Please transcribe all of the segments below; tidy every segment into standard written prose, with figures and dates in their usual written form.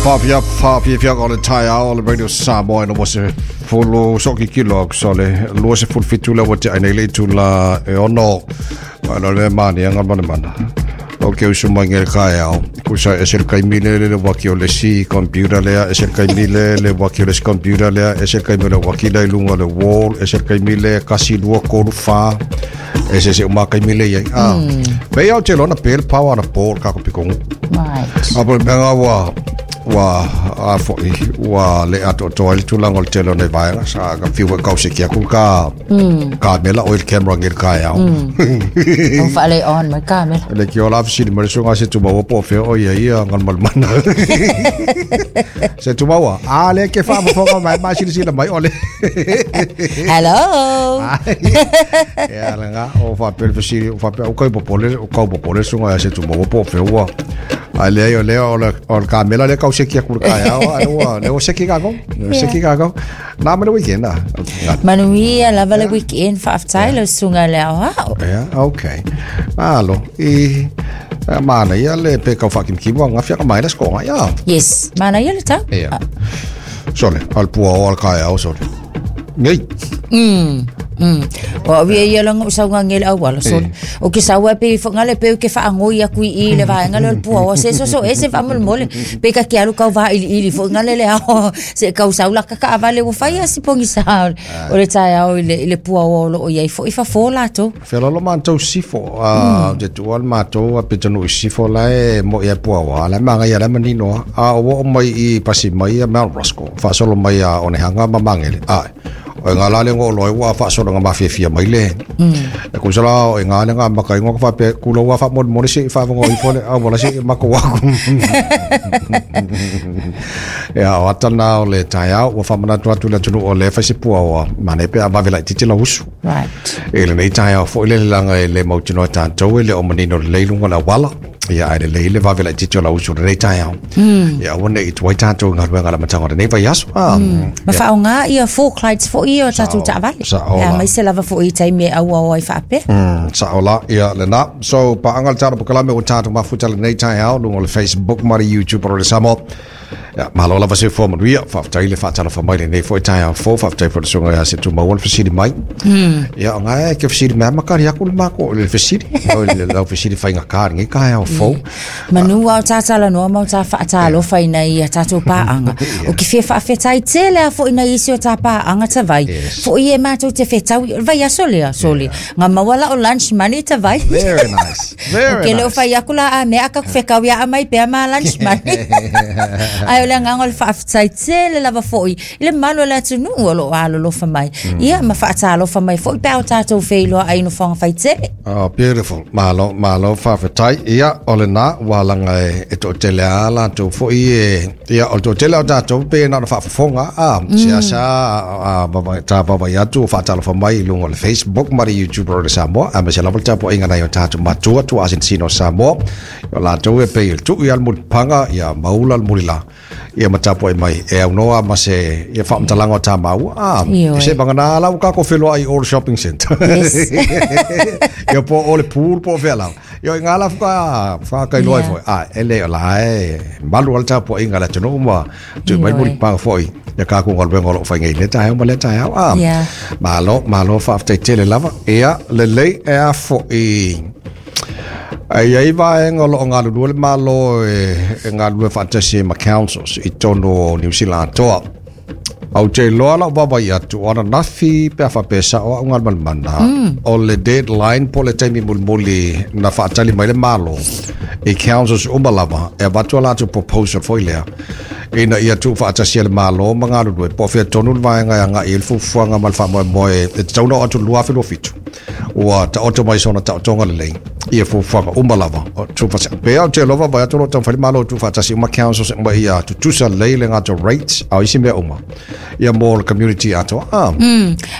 Whawhia, whawhia o le taeao o le Radio Samoa ina se fulu so ki kilo aku so le lua se fulu fitu le wate ai nei le itu la e ono ma no le mani anga mana mana o ke usu mai ngel kaeao ku sa e sel kai mile le waki o le si computer lea e sel kai mile le waki o le si computer lea e sel kai mile waki le lunga le wall e sel kai mile kasi lua kolu wha e se se uma kai mile ia ah pe au te lona pele power na pol ka ko pikongu. Right. A po le mea ua ua a fo'i ua le atoatoa ai le tulaga o le tele o nai vaega sa ka fiu foi kauseki aku ka kamela o i le camera ngel kaeao. O whaale on mai kamera. Le ki o la fesili mai le susuga se tumaua po o fea o ia ia galumalumana. Se tumaua, a le ke faafofoga mai ma silasila mai o le. Hello. Ia le ga o faapea le fesili o faapea o kai popole o kau popole susuga ia se tumaua po o fea ua. Ai leai o lea o le o le kamela lea kau seki aku le kaeao ai ua lea ua seki kākou. Lea ua seki kākou. Nā ma le weekend a. Manuia lava le weekend whaaftai le sunga le ao hao. Yeah, okay. Malo, i mana ia le pe kau whakimkimu a ngawhia ka mai le skonga, ia. Yes, mana ia le tau. Ia. Sole, al pua o al kaeao, sole. Ngei. O au ia ia langa o saunga ngele au ala sole. O ke saua pe whanga le pe ke whaangoi aku i le vaenga le pua o se so so e se whamol mole. Pe ka ke alu kau vā ili ili whanga le le ao se kau saula ka ka avale o whai asi pongi sa o le tae ao i le pua o lo o iai fo i fa fo lato. Whelalo mātou sifo, a te tua le mātou a petanu i sifo la e mo ia pua wa, la manga ia la manino, a o o mai i pasi mai a Mount Roscoe, whaasolo mai a onehanga ma mangele. Ai, o ngā lale ngō loe ua whaasolo ngā mawhiawhia mai le. E kusala o ngā le ngā maka ingoa ka whape kula ua wha moli moli se i whawango i fole, a wala se i mako waku. Ia, o atana o le taeao, ua whamanatu atu le atunu o le whaise pua o mane pe a wawela i titi la usu. Right. E le nei taeao foi le langa e le mautinoa tātou e le o manino le leilunga la wala. Ia, ai le leile wawela i titi o la usu le nei taeao. Ia, ua nei tuai tātou ngā ruenga la matanga o le nei vai aso. Ma whao ngā ia four Clydes fo ia o tātou taavale. Sa o Ia, la. mai se lava fo i tai me aua o ai whaapea. Sa o la, ia le nā. So, paanga le tātou pokalame o tātou mafuta le nei taeao, lunga o le Facebook, ma le YouTube o le Samoa. Ia, malo lava se fua manuia, whaaftai le whaatala wha mai le nei fo i taeao fo, whaaftai fo le sunga ia se tumaua le fesili mai. Ia, o ngai ke fesili mea makari aku le mako, le fesili, o le lau fesili whainga kāri ngai kaeao fo. Manu au tātala noa mau tā whaatalo whaina i a tātou pāanga. O ki whia whaawhetai tele a fo ina isi o tā pāanga ta vai. Yes. Fo i e mātou te whetau, vai aso lea, sole. Ngā mawala o lunch money ta vai. Very nice. Very O ke leo nice. whai aku la a mea ka whekau ia a mai pea mā lunch money. Ai o le nganga o le whaawhetai tele lava fo i. I le malo le atu nuu o lo alolofa mai. Ia ma whaatalofa mai fo i pēo tātou wheiloa ai no whanga whai tele. Oh, beautiful. Malo, malo, whawhetai. Ia, o le nā, wālanga e tō tele a la tō fo i e, ia, o tō tele o tātou, pe nā na whaafofonga, a, se asa, a, a, tā wawa i atu, whaatalofa mai i lunga o le Facebook, ma le YouTube o le Samoa, a me se lava le tapo inga nei o tātou matua, tua asinsino Samoa, o lātou e pe i le tuu i al mulipanga, ia maula al mulila, ia matapo e mai, e au noa ma se, ia whaamtalanga o tā maua, a, Ioe. se banga nā lau kako wheloa i Old Shopping Center. Yes. Ia po o le pool po whea lau. Ia i ngā la whaka, whaka i loa Yeah. foi. A, e le o la e, malu al tapo inga la tunu uma, tu mai Ioe. muri panga foi. Ia kā ku ngā luenga o lo whai ngei le tae ma le tae au. A, Yeah. malo, malo whaaftai tele lava. Ia, le lei e a foi. Ai ai vaenga o loo ngā lulua le malo e, e ngā lulua whaatasi e ma councils i tono o New Zealand atoa. Au te loa lau wawa i atu, o ana nafi pe a whapesa o au ngā malmana, o le deadline po le taimi mulimuli na whaatali mai le malo i councils uma lava, e avatua latou proposal foi lea. Ina ia tu whaatasi e le malo ma ngā lulua, po whia tonu le vaenga e anga i le fufuanga ma le whaamoemoe, e te tauna o atu lua whilua fitu. Ua ta oto mai sona ta otonga le lei. Ia fufuanga uma lava. O tu whaatasi. Pe au te lova vai atu lo tau whali malo tu whaatasi uma councils uma ia tutusa lei le ngā rates au isi mea uma. Ia mō le community atoa. Ah.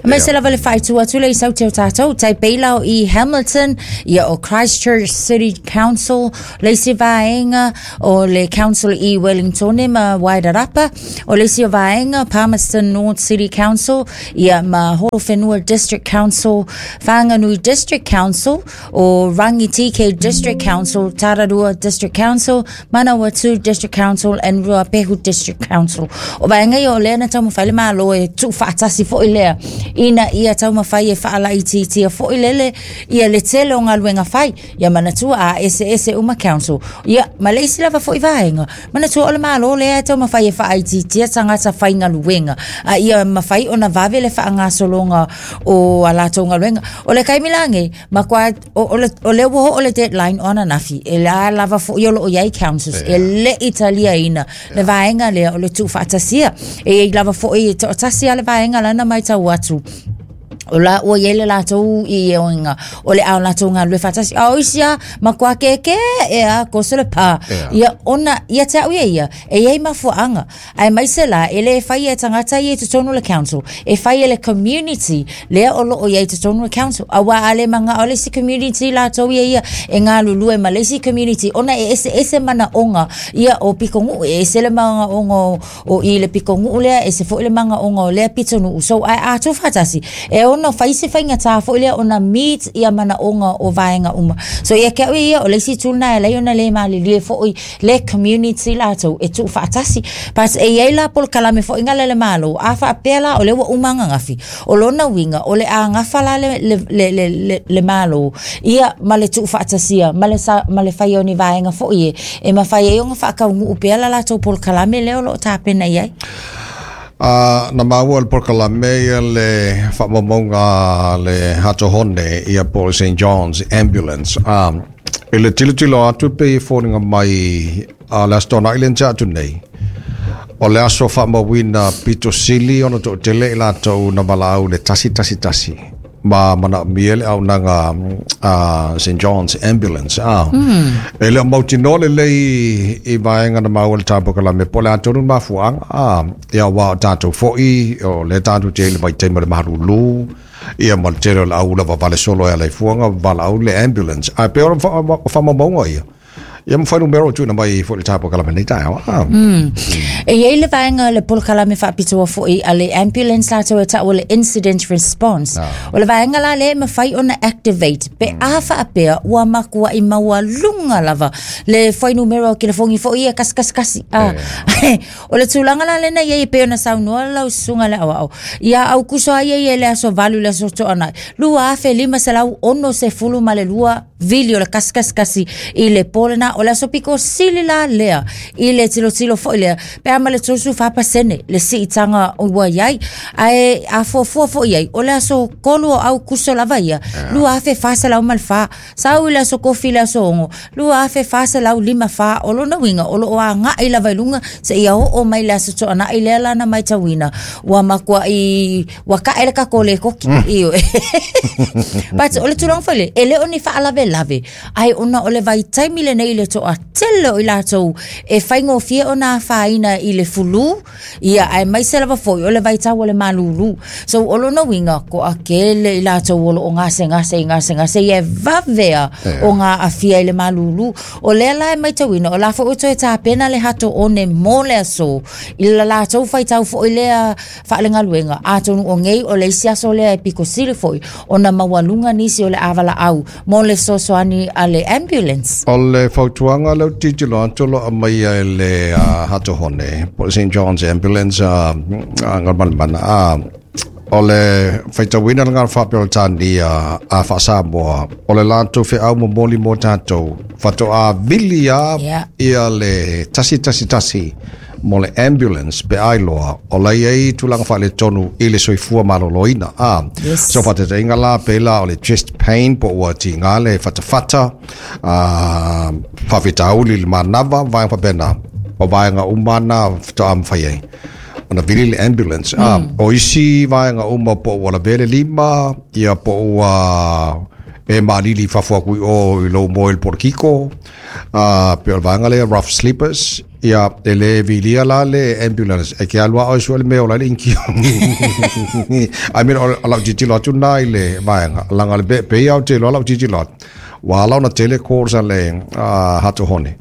Mai se lava le whaitu atu le i sau te o tātou, tai peilau i Hamilton, ia o Christchurch City Council, le isi vaenga o le Council i Wellington ma Wairarapa, o le isi o vaenga Palmerston North City Council, ia ma Horowhenua District Council, Whanganui District Council, o Rangitīkei District Council, Tararua District Council, Manawatū District Council and Ruapehu District Council. O vaega ia o lea na taumafai le Malo e tuufaatasi foi lea ina ia taumafai e faalaitiitia foi lele ia le tele o galuega fai. Ia manatua a eseese uma council. Ia ma le isi lava foi vaega, manatua o le Malo lea e taumafai e faaitiitia tagata faigaluega a ia mafai ona vave le faagasologa o a latou galuega. O le taimi la nei, matua o lea ua oo le deadline o ananafi, e la lava foi o loo i ai councils e le i taliaina le vaega lea o le tuufaatasia. E i ai lava foi e toatasi lava le vaega la na matau atu o la ua i ai le latou ioega o le a latou galulue faatasi. A o isi lava matua kēkē e a koso le pā. Ia ona ia te au ia ia e i ai mafuaaga. Aemaise la e le fai e tagata ia i totonu o le council, e fai e le community lea o loo i ai i totonu o le council. Auā a le manao le isi community latou ia ia e galulue ma le isi community ona e eseese manaoga ia o pitonuu, e ese le manaoga o i le pitonuu lea, ese foi le manaoga o lea pitonuu. So ae a tuufaatasi e ono fai se faigata foi lea ona meet ia manaoga o vaega uma. So ia te au ia ia o le isi itu lena e ala ai ona le malilie foi le community latou e tuufaatasi. But e i ai la polokalame foi gale le Malo, a faapea la o lea ua uma ananafi, o lona uiga o le a gafa la le Malo ia ma le tuufaatasia ma le sa, ma le faia o ni vaega foi e e mafai ai ona faataunuu pea la latou polokalame lea o lo o tapena i ai. Na maua le polokalame ia le faamaumauga a le Hato Hone ia po o le St. John's Ambulance. I le tilotilo atu pei e foliga mai a le Aso Toonai lea na tea atu nei, o le aso faamauina pito sili ona toatele i latou na valaau i le 111 ma manaomia le auaunaga a St. John's Ambulance. E le o mautinoa lelei i vaega na maua i le tapue po o le a tonu le mafuaaga, ia aua o tatou foi o lea tatou te i le vaitaimi o le malulu, ia ma le tele o le au lava vale solo e ala i fuaga valaau le ambulance. Ae pei o faamaumauga ia, ia ma fuainumera o tuuina mai foi i le tapue lenei taeao. E i ai le vaega o le polokalame faapitoa foi a le ambulance latou e taua le incident response. O le vaega la lea e mafai ona activate pe a faapea ua matuai maualuga lava le fuainumera o telefoni foi ia 111. O le tulaga la lena i ai e pei ona saunoa lau susuga i le aoao, ia Aukuso lava ia i le aso 8 i le aso Toonai, 2562 vili o le 111 i le po lena. O le aso pito sili la lea i le tilotilo foi lea, pe a ma le 34% le siitaga ua i ai. Ae a fuafua foi i ai, o le aso 3 o Aukuso lava ia, 2404. Sau i le aso kofi i le aso 6, 2454. O lona uiga, o lo o agai lava i luga seia oo mai le Aso Toonai lea la na matauina ua matuai ua tae le tatou lēkoti. Ioe. But o le tulaga foi lea, e le o ni faalavelave, ae ona o le vaitaimi lenei i le toatele o i latou e faigofie ona afaina i le flu, Ia, aemaise lava foi o le vaitau o le malūlū. So, o lona uiga, toatele i latou o lo o gasegase i gasegase ia e vave a o ngā aafia i le malūlū. O lea la e matauina, o la foi ua toe tapena le Hato One mo le aso i la latou faitau foi lea faalegaluega. Atonu o nei o le isi aso lea e pito sili foi ona maualuga nisi o le avalaau mo le fesoasoani a le ambulance. O le fautuaga lea ou te tilotilo atu o lo o aumaia e le Hato Hone po o le St. John's Ambulance a Galumalemana, o le faitauina le gala faa-Peretania a faa-Samoa, o le latou feau momoli mo tatou, faatoa vili lava ia le 111 mo le ambulance pe a iloa o la i ai tulaga faaletonu i le soifua maloloina. A, Yes. so faataitaiga la pei la o le chest pain po ua tiga le fatafata, a, faafitauli i le manava, vaega faapena. O vaega uma na faatoa mafai ai ona vili le ambulance. A, o isi vaega uma po ua lavea le lima, ia po ua e malili i fafo atu i o i lou moe i le polokiko, a, pei o le vaega lea rough sleepers, Ia, e le vilia la le ambulance, e ke alu a oe sue le mea o la i le inikio. I mean, o lau tilotilo atu na i le vaega, laga le pe, pei au te iloa lau tilotilo atu, ua ala ona tele calls a le Hato Hone.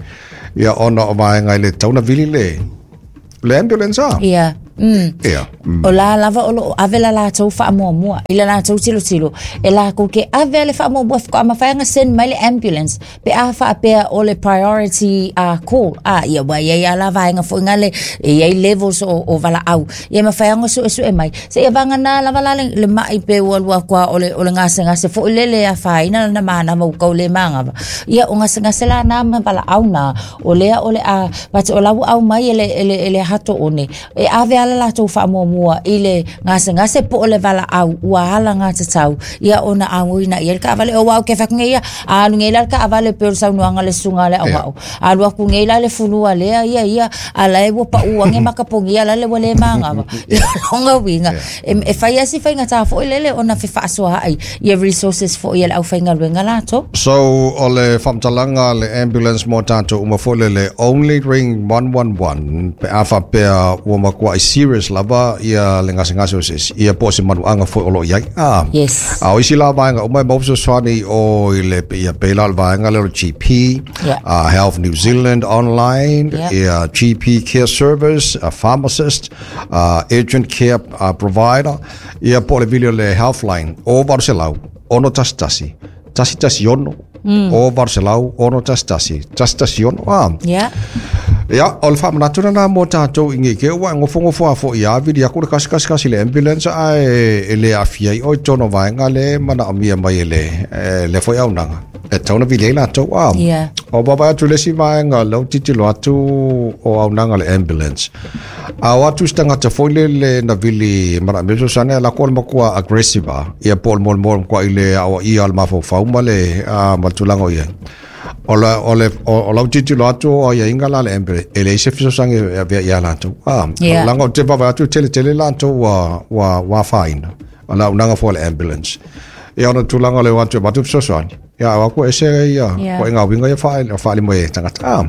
Ia, ona o vaega e le tatau ona vili le ambulance a. Ia. Ia. O la lava o loo ave la latou faamuamua i le latou tilotilo e lakou ke ave le faamuamua faatoa mafai ona send mai le ambulance pe a faapea o le priority call. A ia ua iai a la vaega foi ngale e iai levels o valaau ia mafai ona suesue mai seia vagana lava la le mai pe ua alu atu a o le gasegase foi lele e afaina lana manava ua tau le manava ia o gasegase la na ma valaau na o lea o le a but o la ua aumai e le Hato One e ave ala latou faamuamua i le gasegase po o le valaau ua ala gatatau ia ona auina i ai le taavale. O au ke fai atu nei ia a alu nei la le taavale pei o le saunoaga a le susuga a le aoao alu atu nei la le fulua lea ia ia a la e ua pau ane makapogia la le ua le manava. Ia lona uiga e fai lava si faigata foi lele ona fefaasoaai ia resources foi a le aufaigaluega latou. So, o le faamatalaga le ambulance mo tatou uma foi lele, only ring 111 pe a faapea ua matuai serious lava ia le gasegase o se isi, ia po o se manuaga foi o lo o i ai. Ah. Yes. A o isi la vaega uma e maua fesoasoani o i le ia pei la o le vaega lea o le GP, Health New Zealand online, ia GP Care Service, a pharmacist, urgent care provider, ia po o le vili o le Healthline, o 800 611 116, o 800 611 116. Ah. Ia, o le faamanatu lena mo tatou i nei ke ua e gofogofo a foi a vili atu le kasi kasi kasi le ambulance ae e le aafia ai oe i totonu o vaega le manaomia mai e le e le foi auaunaga e tatau ona vili ai latou a. O vaavaai atu i le isi vaega lea ua tilotilo atu o auaunaga le ambulance. A o atu se tagata foi lele na vili manaomia fesoasoani ae lako o le matua aggressive a ia po o le molimoli matua i le aoaia o le mafaufau ma le ma le tulaga o i ai. O le, o le, o lau tilotilo atu o aiaiga la le ambulance, e leai se fesoasoani e avea ia latou. Ah, leaga ou te vaavaai atu e tele tele latou ua, ua, ua afaina. O le auaunaga foi a le ambulance. Ia ona tulaga o le o atu e avatu fesoasoani. Ia o atu e ese ia, ituaiga uiga ia faaali mai e tagata. Ah,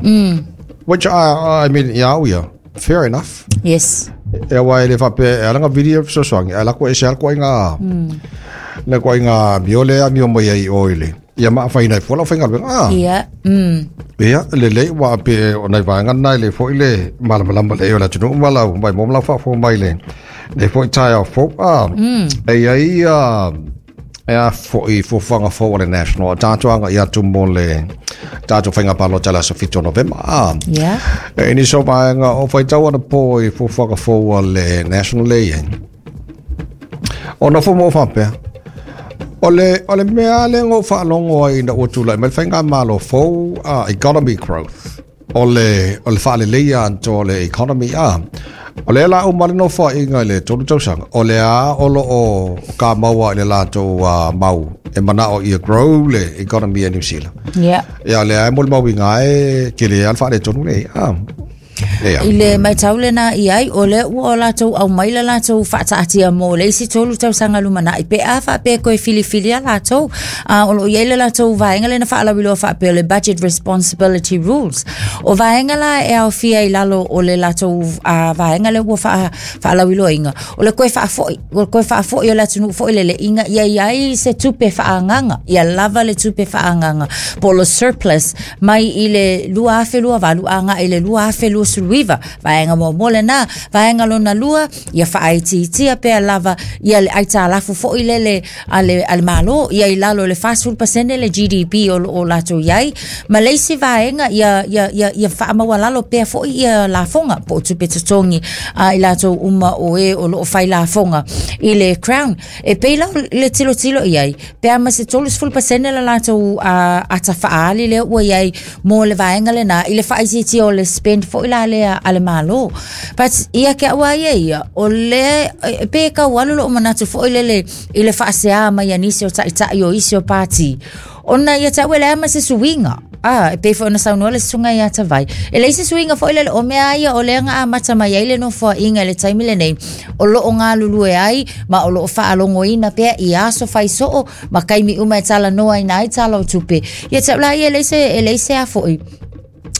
which I mean, ia au ia, fair enough. Yes. E aua e le faapea, e ala ona vili ia fesoasoani, ae lako ese lava le ituaiga, le ituaiga amio lea e amio mai ai i o i le, Ia ma afaina ai fua lau faigaluega. Ah. Ia. Ia, lelei ua pe o nai vaega na e le foi le malamalama lelei o le atunuu ma lau mai mo ma lau faafofoga mai le le foi taeao fou. Ah. E i ai a e a foi fuafuaga fou a le National a tatou agai atu mo le tatou faiga palota i le aso 7 o Novema. Ah. Ia. E nisi o vaega o faitau anapo i fuafuaga fou a le National le i ai. O nofo ma ou faapea, o le, o le mea lea na ou faalogo ai ina ua tulai mai le faigamalo fou, economy growth, o le, o le faaleleia atoa o le economy, a. O lea la uma le nofoaiga i le 3 tausaga, o lea o lo o kamau i le latou mau e manao ia grow le economy a New Zealand. Yeah. Ia, o lea e molimauina ai e tele lava le faaletonu lenei. A. I le matau lena i ai, o lea ua o latou aumai le latou faataatia mo le isi 3 tausaga lumanai pe a faapea toe filifilia latou. A o lo o i ai le latou vaega lena faalauiloa faapea o le Budget Responsibility Rules. O vaega la e aofia i lalo o le latou vaega lea ua faalauiloaina, o le toe faafoi, o le toe faafoi o le atunuu foi lele ina ia i ai se tupe faaagaaga, ia lava le tupe faaagaaga po o le surplus mai i le 2028 agai i le 2029. Vaega muamua lena. Vaega lona lua, ia faaitiitia pea lava ia le aitalafu foi lele a le, a le Malo, ia i lalo i le 40% le GDP o lo o latou i ai. Ma le isi vaega, ia, ia, ia, ia faamaualalo pea foi ia lafoga po o tupe totogi a i latou uma o e o lo o fai lafoga i le Crown. E pei la le tilotilo i ai, pe a ma se 30% le latou ata faaali lea ua i ai mo le vaega lena i le faaitiitia o le spend foi la lea a le Malo. But ia ke au a ia ia, o lea e pei e tau alu lou manatu foi lele i le faasea mai a nisi o taitai o isi o pati, ona ia te au e leai ma se suiga. A, e pei foi ona saunoa le susuga ia Tavai, e leai se suiga foi lele, o mea ia o lea na amata mai ai le nofoaiga i le taimi lenei, o lo o galulue ai ma o lo o faalogoina pea i aso fai soo ma taimi uma e talanoaina ai tala o tupe. Ia te au la ia e leai se, e leai se a foi.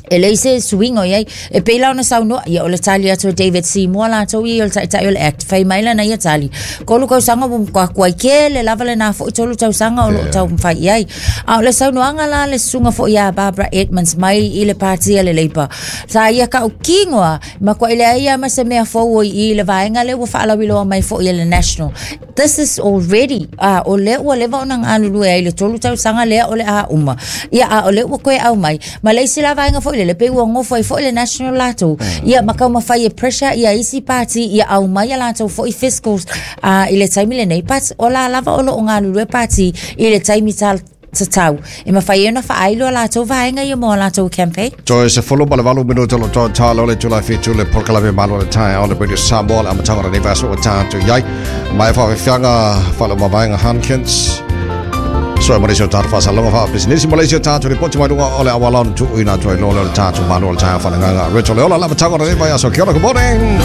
E leai se suiga o i ai. E pei la ona saunoa, ia o le tali atu a David Seymour latou ia o le taitai o le ACT, fai mai lana ia tali, 3 tausaga ua matua tuai tele lava lena foi 3 tausaga o lo o taumafai i ai. A o le saunoaga la a le susuga foi ia Barbara Edmonds mai i le Pati a le Labour, sa ia tautino lava, e matuai leai lava ma se mea fou o i i le vaega lea ua faalauiloa mai foi e le National. This is already, a o lea ua leva ona galulue ai le 3 tausaga lea o le a uma. Ia, a o lea ua toe aumai, ma le isi la vaega foi lele, pei ua nofo ai foi le National latou, ia ma taumafai e pressure ia isi pati ia aumai a latou foi fiscals i le taimi lenei, but o la lava o lo o galulue pati i le taimi tatau e mafai ai ona faailo a latou vaega ia mo a latou campaign. Toe 18 minuta o lo o talo le itula 7 le polokalame Malo le Taeao le Radio Samoa le amataga o lenei vaiaso ua tatou i ai. Mai faafefiaga faalemavaega Hankins. Soe ma le o tatou faasaloga faapisinisi ma le isi o tatou lipoti mai luga o le auala ona tuuina atu ai loa lea o le tatou Malo le Taeao faaleagaga. Rachel Leola le amataga o lenei vaiaso. Kia ora, good morning.